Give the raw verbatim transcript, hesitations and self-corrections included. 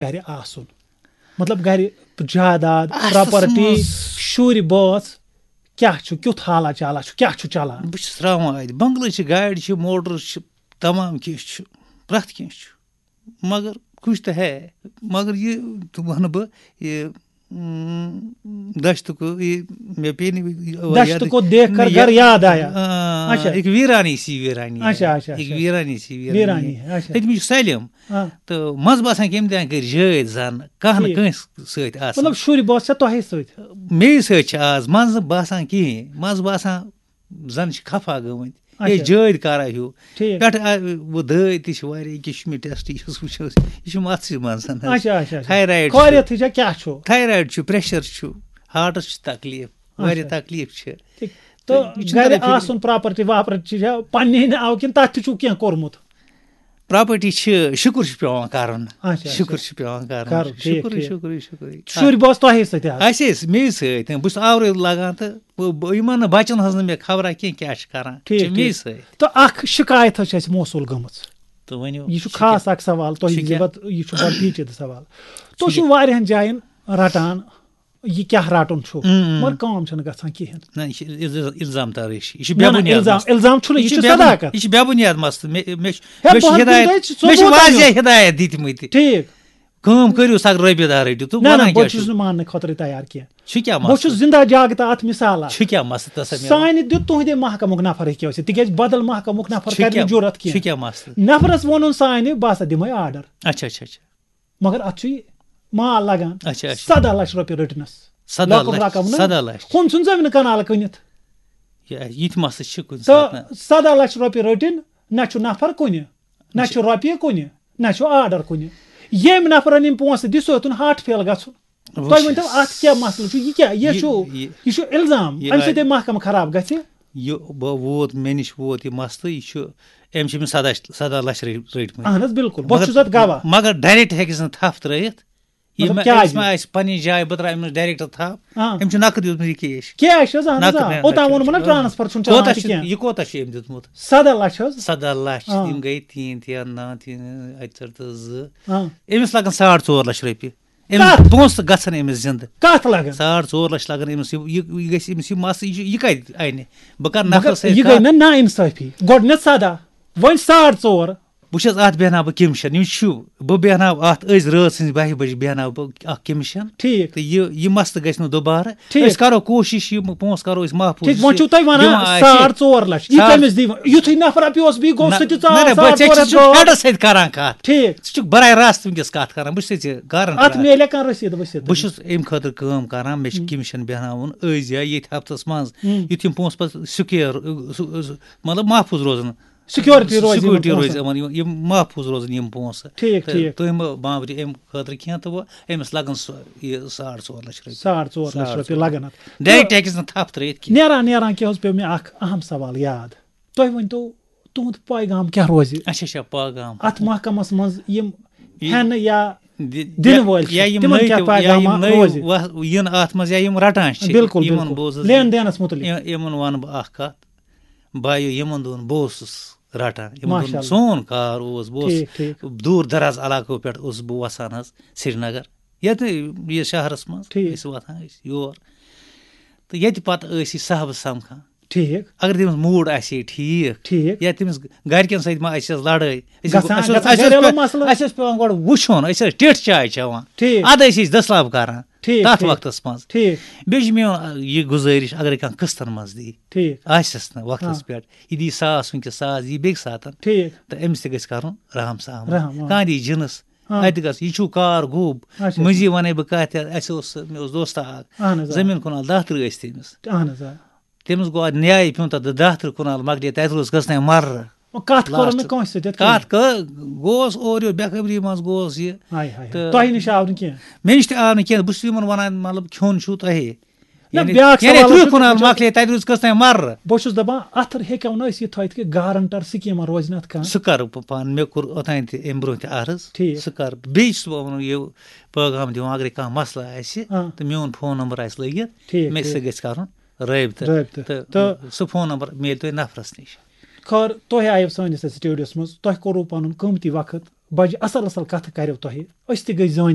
گرِ آسُن؟ مطلب، گرِ جائیداد، اَصلَس پراپرٹی، منٛز شُرۍ بٲژ کیٛاہ چھُ، کیُتھ حالا چالا چھُ، کیٛاہ چھُ چلان؟ بہٕ چھُس راوان اَتہِ۔ بنگلہٕ چھِ، گاڑِ چھِ، موٹر چھِ، تمام کینٛہہ چھُ، پرٛٮ۪تھ کینٛہہ چھُ۔ مگر کچھ تو ہے، مگر یہِ تہِ وَنہٕ بہٕ، یہِ، اۭں، دشت کو، یہِ مےٚ پیٚیہِ نہٕ یہِ دشت یاد۔ کو دیکھ کر مےٚ گھر یاد آیا۔ آ، اچھا۔ ایک ویرانی سی ویرانی ہے۔ اچھا، اچھا، ایک اچھا۔ ویرانی سی ویرانی ویرانی ہے۔ ہے، اچھا۔ تٔتۍ منٛز چھُ سٲلِم۔ ہاں۔ تہٕ منٛزٕ باسان کہِ أمۍ تہِ کٔرۍ جٲدۍ زَن، کانٛہہ نہٕ ٹھیٖک۔ کٲنٛسہِ سۭتۍ آسان۔ مطلب، شُرۍ بٲژ چھا تۄہے سۭتۍ؟ مے سۭتۍ چھِ آز، منٛزٕ باسان کِہیٖنۍ، منٛزٕ باسان زَن چھِ خفا گٔمٕتۍ۔ اچھا۔ ہے، جٲدۍ کَرا ہیوٗ۔ ٹھیٖک۔ پٮ۪ٹھٕ آ-، وۄنۍ دٲدۍ تہِ چھِ واریاہ، یہِ کہِ چھُ مےٚ ٹیسٹ، یہِ چھُس وٕچھان، یہِ چھُ مَژھٕے منٛز حظ۔ اچھا، اچھا، اچھا۔ تھایرایِڈ چھُ۔ خٲریتھٕے چھا، کیٛاہ چھُ؟ تھایرایِڈ چھُ، پرٛٮ۪شَر چھُ، ہارٹَس چھُ تکلیٖف، واریاہ اچھا۔ تکلیٖف چھِ۔ ٹھیٖک۔ تہٕ تہٕ یہِ چھُنہٕ گرِ تَلان فِکرِ۔ آسُن پراپرٹی واپرٹی چھا پننہِ ناوٕ کِنہٕ تَتھ تہِ چھُو کینٛہہ کوٚرمُت؟ پراپرٹی چھِ، شُکُر چھُ پٮ۪وان کَرُن۔ اچھا، اچھا۔ شُکُر چھُ پٮ۪وان کَرُن۔ کَرُن، ٹھیٖک، شُکُرٕے، ٹھیٖک۔ شُکُرٕے، شُکُرٕے۔ شُرۍ بٲژ تۄہے سۭتۍ حظ؟ اَسے سۭتۍ، مے سۭتۍ۔ بہٕ چھُس آورٕے لَگان تہٕ بہٕ، بہٕ، یِمَن نہٕ بَچَن ہٕنٛز نہٕ مےٚ خبرا کینٛہہ، کیٛاہ چھِ کَران۔ ٹھیٖک، چھِ مے ٹھیٖک۔ سۭتۍ۔ تہٕ اَکھ شِکایت حظ چھِ اَسہِ موصوٗل گٔمٕژ۔ تہٕ ؤنِو، یہِ چھُ چھِ خاص کیٛاہ؟ اَکھ سوال تۄہہِ چھِ زِ کیٛاہ؟ بَد-، یہِ چھُ بَڑٕ پیچیدٕ سوال۔ تُہۍ چھِو چھِ واریاہَن جایَن رَٹان یہِ کیٛاہ رَٹُن چھُ، اۭں، اۭں۔ مگر کٲم چھَنہٕ گژھان کِہیٖنۍ۔ نہ، یہِ چھِ الز-، الزام ترٲشی۔ یہِ چھِ نہ، بے نہ، بُنیاد الزام، مسلہٕ۔ الزام چھُنہٕ، یہِ یہِ چھِ چھُ بے بُن-، صداقت۔ یہِ چھِ بے بُنیاد مسلہٕ۔ مےٚ، مےٚ چھِ، ہے، مےٚ چھِ بہٕ ہدایت، دِمہٕ تۄہہِ مےٚ چھِ ثبوٗت واضح اَمیُک۔ ہدایت دِتمٕتۍ۔ ٹھیٖک۔ کٲم کٔرِو، سا رۄپیہِ دَہ رٔٹِو، تہٕ نہ، نہ، وَنان بہٕ کیٛاہ چھُس چھُو؟ نہٕ ماننہٕ خٲطرٕ تیار کینٛہہ۔ چھُ کیٛاہ بہٕ چھُس مسلہٕ؟ زِندہ جاگتا اَتھ مِثالا۔ چھُ کیٛاہ مسلہٕ تَس اَمہِ علاوٕ؟ سانہِ دیُت تُہٕنٛدے محکمُک نفر ہیٚکہِ ٲسِتھ، تِکیٛازِ بدل محکمُک نفر چھُ کَرِ نہٕ کیٛاہ، جُرت چھُ کینٛہہ۔ کیٛاہ مسلہٕ؟ نفرَس ووٚنُن سانہِ، بہٕ ہسا دِمَے آرڈر۔ اچھا، اچھا، اچھا۔ مگر اتھ چھُ یہِ مال لگان۔ اچھا، اچھا۔ سداہ لچھ رۄپیہِ رٔٹنس۔ سداہ لۄکُٹ لچھ، رقم نہ۔ سداہ لچھ۔ ہُم ژھُن زٔمیٖنہٕ کنال کٕنِتھ۔ یہِ، یہِ تہِ مسلہٕ چھِ کُنہِ تہٕ ساتہٕ نہ۔ سداہ لچھ رۄپیہِ رٔٹِن، نہ چھُ نفر کُنہِ، نہ اچھا۔ چھُ رۄپیہِ کُنہِ، نہ چھُ آرڈر کُنہِ۔ ییٚمۍ نفرن یِم پونٛسہٕ دِتھ، سُہ ہیوٚتُن ہارٹ فیل گژھُن۔ وٕچھ تۄہہِ ؤنۍ تو، حظ۔ اتھ کیٛاہ مسلہٕ چھُ؟ یہِ کیٛاہ، یہِ یہِ، چھُ، یہِ، یہِ چھُ الزام۔ یہِ امہِ سۭتۍ آے- محکمہٕ خراب گژھِ۔ یہِ بہٕ ووت، مےٚ نِش ووت یہِ مسلہٕ، یہِ چھُ، أمۍ چھِ أمِس سداہ، سداہ لچھ رٔ-، رٔٹۍ مٕتۍ۔ اہن حظ، بِلکُل۔ بہٕ مگر، چھُس اَتھ گواہ۔ مگر ڈایریکٹ ہیٚکہِ نہٕ تھپھ ترٲیِتھ۔ یہِ مطلب، مےٚ، کیٛازِ؟ أمِس ما آسہِ پننہِ جایہِ، بہٕ ترٛاوٕ أمِس ڈایریکٹ تھپھ۔ آ۔ أمۍ چھُ نقد دیُتمُت یہِ کیش۔ کیش حظ، اہن حظ، نقد آ۔ مےٚ اوٚتام ووٚنمو نہ، اچھا، اچھا۔ ٹرانسفر چھُنہٕ چلان کوتاہ اَتہِ چھِ، کینٛہہ۔ یہِ کوتاہ چھِ أمۍ دیُتمُت؟ سداہ لچھ حظ۔ سداہ لچھ، آ۔ یِم گٔے تین، تین، نہ، تین، اَکہِ ژٔٹۍ تہٕ زٕ۔ آ۔ أمِس لگن ساڑ ژور لچھ رۄپیہِ۔ أمِس کَتھ؟ پونٛسہٕ گژھن أمِس زِندٕ۔ کَتھ لگن؟ ساڑ ژور لچھ لگن أمِس۔ یہِ، یہِ، یہِ گژھِ أمِس یہِ مس، یہِ چھُ، یہِ کَتہِ اَنہِ؟ بہٕ کَرٕ مگر نفرَس سۭتۍ یہِ گٔے کَتھ۔ نہ نااِنصٲفی۔ گۄڈٕنٮ۪تھ سَداہ، وۄنۍ ساڑ ژور۔ وٕچھ حظ، اَتھ بیٚہناو بہٕ کٔمِشن۔ یہِ چھُ، بہٕ بیٚہناو اَتھ أزۍ رٲژ سٕنٛزِ بَہہِ بَجہِ بیٚہناو بہٕ اَکھ کٔمِشن۔ ٹھیٖک۔ تہٕ یہِ، یہِ مسلہٕ گژھِ نہٕ دُبارٕ۔ ٹھیٖک۔ أسۍ کَرو کوٗشِش، یہِ پونٛسہٕ کَرو أسۍ محفوٗظ۔ ٹھیٖک، وۄنۍ چھُو تۄہہِ وَنان دِوان آسہِ۔ ساڑ ژور لچھ۔ یہِ ساڑ کٔمِس دِیہِ؟ یُتھُے نفر اَپیوس بیٚیہِ گوٚو، نہ، سُہ تہِ ژاو نہ، نہ، ساڑ بہٕ ژور ژےٚ ہَتھ چھُس گوٚو۔ فیڈَس سۭتۍ کَران کَتھ۔ ٹھیٖک۔ ژٕ چھُکھ برائے راست وٕنکیٚس کَتھ کَران، بہٕ چھُسے ژےٚ گارنٹر اَتھ اَکھ۔ میلیا کانٛہہ رٔسیٖد ؤسیٖد؟ بہٕ چھُس اَمہِ خٲطرٕ کٲم کَران، مےٚ چھِ ہُم۔ کٔمِشن بیٚہناوُن أزۍ یا ییٚتھۍ ہفتَس منٛز، ہُم۔ یُتھ یِم پونٛسہٕ پَتہٕ سِکیور، سُہ، سُہ، مطلب محفوٗظ روزَن۔ سِکیورٹی روزِ یِمَن سِکیورٹی روزِ پونٛسَن۔ یِمَن، یِم، یِم محفوٗظ روزَن یِم پونٛسہٕ۔ ٹھیٖک، تہٕ ٹھیٖک۔ تُہۍ مہٕ بامبرِو اَمہِ خٲطرٕ کینٛہہ، تہٕ وۄنۍ أمِس لَگَن سُہ، یہِ ساڑ ژور لَچھ رۄپیہِ۔ ساڑ ژور لَچھ ساڑ رۄپیہِ ژور۔ لَگَن اَتھ۔ ڈایریکٹ ہیٚکٮ۪س نہٕ تھپھ ترٲیِتھ کینٛہہ۔ نیران نیران کیٛاہ حظ پیوٚو مےٚ اَکھ اَہَم سوال یاد۔ تُہۍ ؤنۍ تو، تُہُنٛد پیغام کیٛاہ روزِ اچھا، اچھا، پیغام۔ اَتھ محکمَس منٛز یِم یہِ ہٮ۪نہٕ یا دِ-، دِنہٕ یا، وٲلۍ چھِ، یا یِم تِمَن نٔے کیٛاہ تہِ، یا یِم پیغامہ نٔے روزِ؟ وَ-، یِن اَتھ منٛز یا یِم رَٹان چھِ، بِلکُل، یِمَن بِلکُل۔ بوزُس لین بہٕ، دینَس مُتعلِق۔ یہِ-، یِمَن وَنہٕ بہٕ اَکھ کَتھ۔ بایو، یِمَن دۄہَن بہٕ اوسُس رَٹان، یِمَن دۄہَن ماشاء اللہ۔ سون کار اوس، بہٕ اوسُس ٹھیٖک، ٹھیٖک۔ دوٗر دراز علاقو پٮ۪ٹھ اوسُس بہٕ وَسان حظ سرینگر، یَتھ یہِ شہرَس منٛز ٹھیٖک۔ ٲسۍ وَتھان ٲسۍ یور۔ تہٕ ییٚتہِ پَتہٕ ٲسۍ یہِ صاحبَس سَمکھان۔ ٹھیٖک۔ اگر تٔمِس موٗڈ آسہِ ہے ٹھیٖک، ٹھیٖک۔ یا تٔمِس گَرِکٮ۪ن سۭتۍ ما آسہِ اَسہِ لَڑٲے، أسۍ گژھان، اَسہِ اوس، گژھان اَسہِ اوس گَریلو پٮ۪وان، مَسلہٕ۔ اَسہِ اوس پٮ۪وان گۄڈٕ وٕچھُن، أسۍ ٲسۍ ٹیٚٹھ چاے چٮ۪وان۔ ٹھیٖک۔ اَدٕ ٲسۍ أسۍ دٔسلاب کَران ٹھیٖک، تَتھ ٹھیٖک۔ وقتَس منٛز۔ ٹھیٖک۔ بیٚیہِ چھِ میون، آ، یہِ گُزٲرِش، اگرے کانٛہہ قٕسطن منٛز دی، ٹھیٖک۔ آسٮ۪س نہٕ وقتَس ہاں۔ پٮ۪ٹھ، یہِ دی ساس وٕنکیٚس، ساس دی بیٚکہِ ساتَن۔ ٹھیٖک۔ تہٕ أمِس تہِ گژھِ کَرُن رحم سہم۔ رحم، آ۔ کانٛہہ دی جِنَس، ہاں۔ اَتہِ گژھ، یہِ چھُو کار گوٚب۔ اچھا۔ مٔنٛزی وَنَے بہٕ کَتھ، یَتھ اَسہِ اوس، مےٚ اوس دوستہٕ اَکھ، اَہَن حظ، آ۔ زٔمیٖن کُنال دَہ تٕرٛہ ٲسۍ تٔمِس۔ اَہَن حظ، آ۔ تٔمِس گوٚو اَتھ نیایہِ پیوٚن تَتھ دَہ تٕرٛہ کُنال مۄکلے، تَتہِ روٗز کٔژ تام مَررٕ۔ وۄنۍ کَتھ کٔرٕن نہٕ لاسٹَس۔ کٲنٛسہِ سۭتۍ یِتھ کٔنۍ؟ کَتھ کٔر، گوس اورٕ یورٕ بے خبری منٛز گوس یہِ۔ ہاے، ہاے، ہاے۔ تہٕ تۄہہِ نِش آو نہٕ کینٛہہ؟ مےٚ نِش تہِ آو نہٕ کینٛہہ، بہٕ چھُس یِمَن وَنان، مطلب، کھیوٚن چھُو تۄہے۔ نہ، یعنی، بیٛاکھ یعنی سوال تٕرٛہ چھُ، کُنال مۄکلے، تَتہِ روٗز کٔژ تام مَررٕ۔ بہٕ چھُس دَپان، اَتھ ہیٚکو نہٕ أسۍ یہِ تھٲیِتھ کہِ گارنٹر سکیٖمَن روزِ نہٕ اَتھ کانٛہہ؟ سُہ کَرٕ بہٕ پانہٕ، مےٚ کوٚر اوٚتانۍ تہِ اَمہِ برٛونٛہہ تہِ عرض۔ ٹھیٖک۔ سُہ کَرٕ بہٕ۔ بیٚیہِ چھُس بہٕ وَنان یہِ پیغام دِوان، اگرے کانٛہہ مسلہٕ آسہِ، آ۔ تہٕ میون فون نمبر آسہِ لٲگِتھ، ٹھیٖک، مےٚ ٹھیٖک۔ سۭتۍ گژھِ کَرُن رٲبطہٕ۔ رٲبطہٕ۔ تہٕ تہٕ سُہ فون نمبر میلہِ تۄہہِ نفرَس نِش۔ خٲر، تۄہہِ آیو سٲنِس یَتھ سٹوڈیوَس منٛز، تۄہہِ کوٚروٕ پَنُن قۭمتی وقت، بَجہِ اَصٕل اَصٕل کَتھٕ کَریو تۄہہِ، أسۍ تہِ گٔے زٲنِتھ۔